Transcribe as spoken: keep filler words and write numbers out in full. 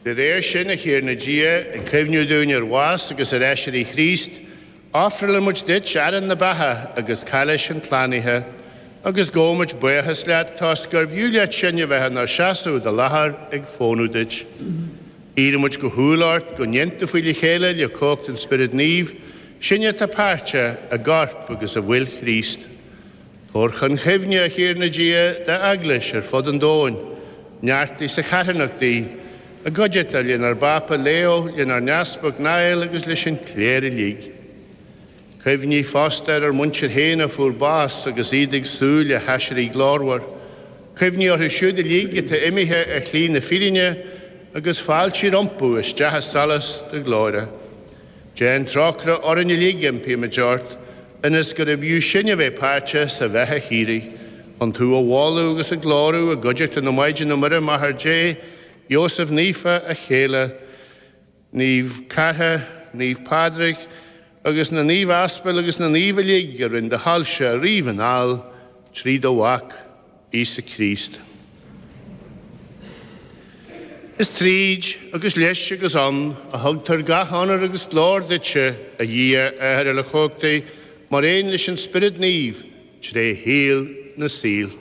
De réir sin, a Thiarna Dia, ag cuimhniú dúinn ar bhás agus ar aiséirí Chríost, ofrálann muid duit arán na beatha agus cailís an tslánaithe, agus gabhaimid buíochas leat toisc gurbh fhiú leat sinn a bheith inár seasamh i do láthair ag fónamh duit. Iarraimid go humhal ort go n-aontófaí le chéile le cumhacht an Spioraid Naoimh, sinne atá páirteach i gcorp agus i bhfuil Chríost. Tabhair chun cuimhne, a Thiarna Dia, d'Eaglais ar fud an domhain, neartaigh sa charthanacht í, i gcuideachta lenár bPápa Leo, lenár nEaspag Niall agus leis an chléir uilig. Cuimhnigh fosta ar ár muintir féin a fuair bás agus iad ag súil le haiséirí glórmhar. Cuimhnigh orthu siúd uilig atá imithe ar shlí na fírinne agus fáiltigh rompu isteach i solas do ghlóire. Déan trócaire orainn uilig, impímid ort, ionas gurbh fhiú sinn a bheith páirteach sa bheatha shíoraí, chun tú a mholadh agus a ghlóiriú i gcuideachta na Maighdine Muire Máthair Dé, Iósaf Naofa a céile, Naomh Cartha, Naomh Pádraig, agus na naoimh aspail agus na naoimh uilig a rinne do thoilse riamh anall trí do Mhac, Íosa Críost. Is tríd agus leis agus ann a thugtar gach onóir agus glóir duitse, a Dhia, a Athair uilechumhachtaigh, mar aon leis an Spiorad Naomh, tré shaol na saol.